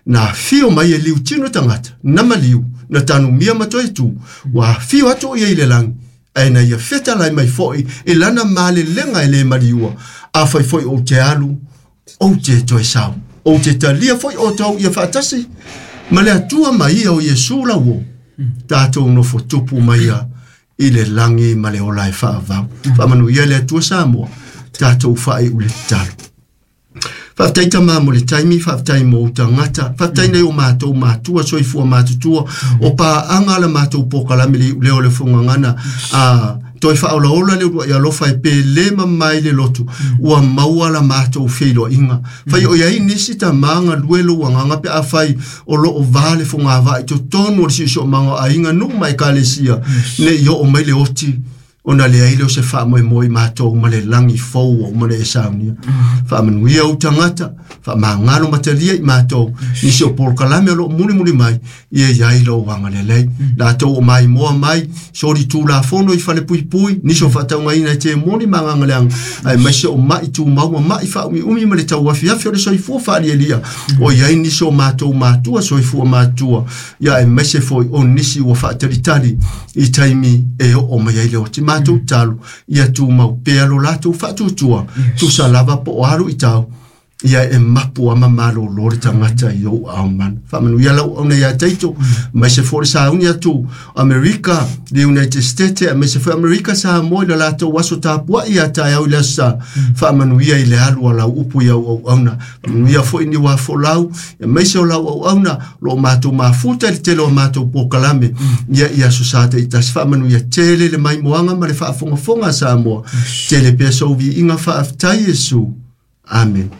Na afio mai e liutino tagata, na maliu, na tanumia ma toe tu, ua afio atu o ia i le lagi, ae na ia fetalai mai foi i lana malelega e lē maliua. Afai foi ou te alu, ou te toe sau. Ou te talia foi outou ia faatasi ma le Atua ma ia o Iesu lauō, tatou nofo tupu ma ia i le lagi ma le ola e faavavau. Faamanuia le Atua Samoa, tatou faaiu le tatalo. Faafetai Tama mo le taimi, faafetai mo ou tagata, faafetai nai o matou matua soifua matutua, o paaga la matou polokalame le iuleo o le Fogagana, a toe faaolaola le uluai alofa e pele ma mai le loto, ua maua la matou feiloaiga. Fai o i ai nisi tama galue lou agaga pe afai o loo va le fogavaa i totonu o le siosiomaga o aiga, nuu ma ekalesia, nei oo mai le oti ona leai lea o se faamoemoe i matou ma le lagi fou ua uma ona e saunia. Faamanuia ou tagata, faamagalo matalia i matou, nisi o polokalame o loo mulimuli mai, ia i ai lou agalelei. Latou o maimoa mai, soli tulafono i falepuipui, nisi o faataugaina e temoni ma agaga leaga, aemaise o mai tumau ma mai faaumiumi ma le tauafiafi o le soifua faalialia, o i ai nisi o matou matua soifua matua, ia aemaise foi o nisi ua faatalitali i taimi e oo mai ai le oti. Matou tatalo, ia tumau pea lo latou faatuatua, tusa lava po o a luitau, ia e mapu ama malōlō le tagata i ou aao mana. Faamanuia lau auauna ia Taito, aemaise foi le sauni atu Amerika, le United States, aemaise foi Amerika Samoa i le latou aso tapuai ia taeao i le aso Sa. Faamanuia i le alu a lau upu i au auauna. Faamanuia foi Niuafolau, aemaise o lau auauna, o lo o matou mafuta i le tele o matou polokalame ia i aso Sa taitasi. Faamanuia tele le maimoaga ma le faafogafoga a Samoa. Tele pea sou viiga, faafetai Iesu. Amen.